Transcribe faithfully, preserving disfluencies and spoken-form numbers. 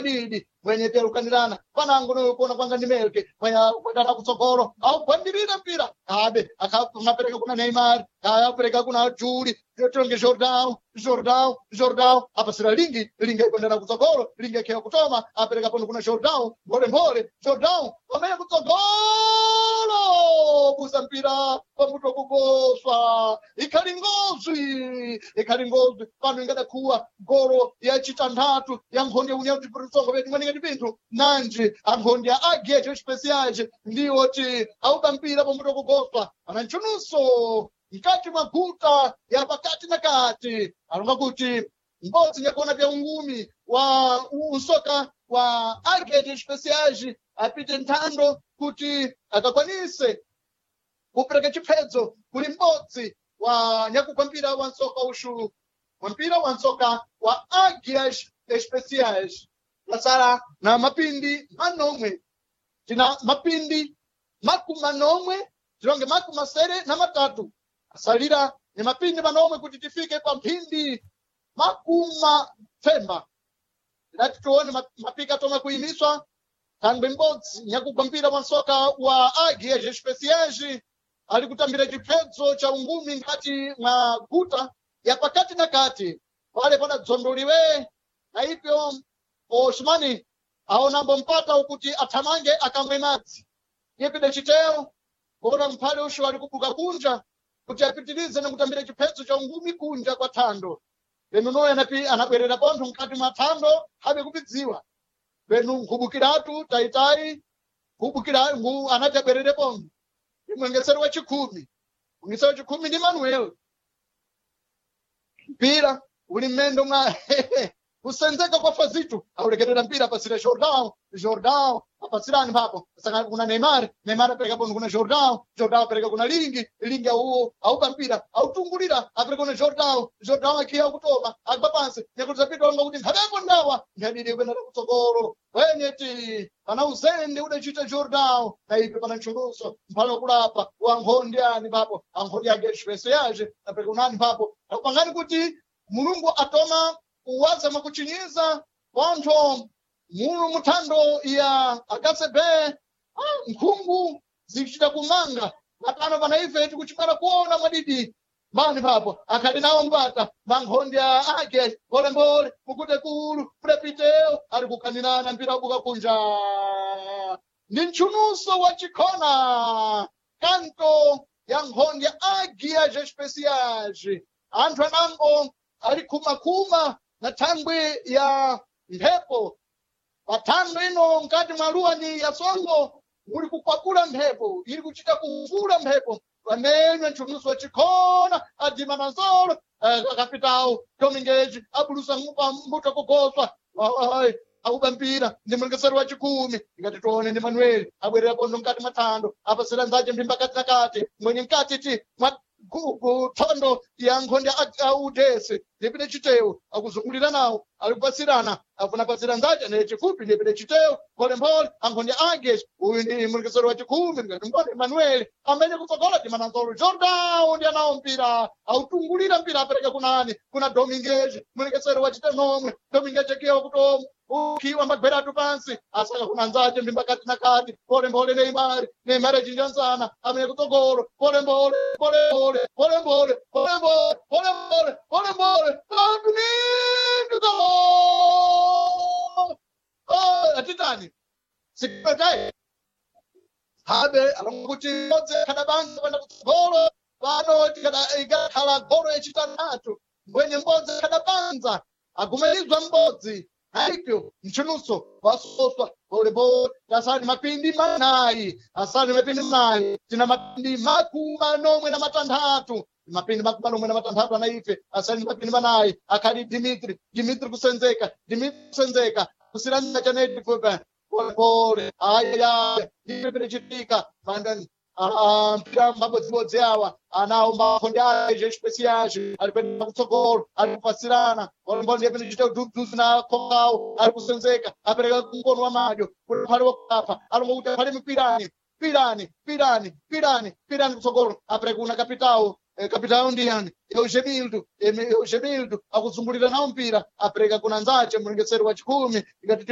didi mwenye terukanirana panango nokuona kwanga ndi melke kwendana kutsogolo augwandirira mpira kabe akapereka kuna Neymar kapereka kuna Juli tonge Jordão Jordão Jordão apasira lingi lingi aikwendana kutsogolo lingi akhewa kutoma apereka pano kuna Jordão mbole mbole Jordão pamene kutsogolo busa mpira pamuto kugoswa ikhali ngozwi ikhali ngozwi pano ingadakhuwa golo ya chitanthatu ya nkhonde ya união de vedu mwaningati pinthu nanji ankhonde ya agecho especiais ndiwo ti auba mpira pamuto kugoswa ana nchununso mkati mwa guta ya pakati na kati alonga kuti mbodzi nyakuona vya ungumi wa unsoka wa agete especiais apite nthando kuti akakwanise kupereka chiphedzo kuli m'bodzi wa nyakugwa mpira wa nsoka uxu wa mpira wa nsoka wa Águias Especiais lasala na mapindi manomwe tina mapindi makumi manomwe tilonge makumi masere na matatu asalira ni mapindi manomwe kuti tifike pa mphindi makuma themba tidati tione mapika tomwe kuyimiswa thangwe m'bodzi nyakugwa mpira wa nsoka wa Águias Especiais ali kutambira chiphedzo cha ungumi ngati mwa guta ya pakati na kati pale padadzondoliwe na ipyo Osmani aonambo mpata ukuti athamange akamwe madzi yepide chiteo kuona mphale ushu ali kubuka kunja kuti apitirize na kutambira chiphedzo cha ungumi kunja kwa thando lenu noyo anapi anabwerera pontho mkati mwa thando habe kupidziwa lenu nkhubukiratu taitayi nkhubukira ngu anati abwerere pontho imwengesero wa chikhumi mwengesero wa chikhumi ndi Manuel mpira uli mmendo mwa kusenzeka kwa Fazito aulekerera mpira apasira Jordão Jordão apasirani papo saka kuna Neymar Neymar apereka pono kuna Jordão Jordão apereka kuna Lingi Lingi auo aupa mpira autungulira apereka kuna Jordão Jordão akiya kutoma agwa pansi nyakuti zapita onga kuti nkhapepo ndawa nkhadidi kwenda kutsogolo wenyeti pana uzende udachita Jordão na ipe pana nchuluso mphalo kulapa wa nkhonde ani papo ankhonde ake expresso yaje apereka unani papo akupangani kuti Mulungu atoma kuwaza mwakuchinyiza pontho mulu muthando ya akasebe ah, nkhungu zikuchita kumanga napano pana ife tikuchimala kuona mwadidi mani papo akhali nawo mbata mankhondya ake mbolembole mukute kulu pulepiteo ali kukanirana mpira ubuka kunja ndi mchununso wa chikhona kanto ya nkhondya Águias Especiais anthu anango ali khumakhuma na thangwi ya mphepo pathando ino mkati mwa luwani ya songo muli kukwakula mphepo ili kuchita kuvula mphepo pamenwe nchuluso wa chikhona adima na nzolo akapitawo Dominguez abulusa mbuto kugoswa auba mpira ndi mlengesero wa chikhumi ngati tione ndi Manuel abwerera pondo mkati mwa thando apasira nzache mphimba kati na kati mwenye mkati ti mwa thondo ya nkhonde audese ndipite chitewu akuzungulira nawo alikupasirana afuna pasira nzache ne chifupi ndipite chitewu mphole ankhonde ake uyu ndi mlengesero wa chikhumi ngati mbone Manuel amene kutsogola timananzolo Jordão ndi anawo mpira autungulira mpira apereka kunani kuna Dominguez mlengesero wa chitenomwe Dominguez akiwa kutomo ukiwa magweratu pansi asaka kuna nzache mbimba kati na kati pole mbole Neymar Neymar achinjansana amene kutsogolo pole mbole pole mbole pole mbole pole mbole pole mbole pole mbole katundu atitani sikutai habe alonguti modze kadabanga kwenda kutsogolo pano ikakhala golo yachitanthatu mbwenye mbodzi kadabanza agumelizwa mbodzi haipyo mchunuso wasoswa polepole tasani mapindi manayi asani mapindi manayi tina mapindi makumi manomwe na matanthatu mapindi makumi manomwe na matanthatu anaife asani mapindi manayi akhali Dimitri Dimitri kusenzeka Dimitri kusenzeka kusiranira chaneti fupa polepole ayaya ndipepere chitika mandani mpira mabodzibodzi awa anawo makhonde aje especiais ali kwenda kutsogolo ali kupasirana polepole ndiyepene chita udhudhuzi na khokawo ali kusenzeka apereka mkono wa madyo kuti phale wakapa alongo kuti phale mipirani pirani pirani pirani pirani kutsogolo apereka kuna kapitawo kapitawo ndiyani Eugenildo Eugenildo akuzungulira nawo mpira apereka kuna nzache mlengeseri wa chikhumi ikati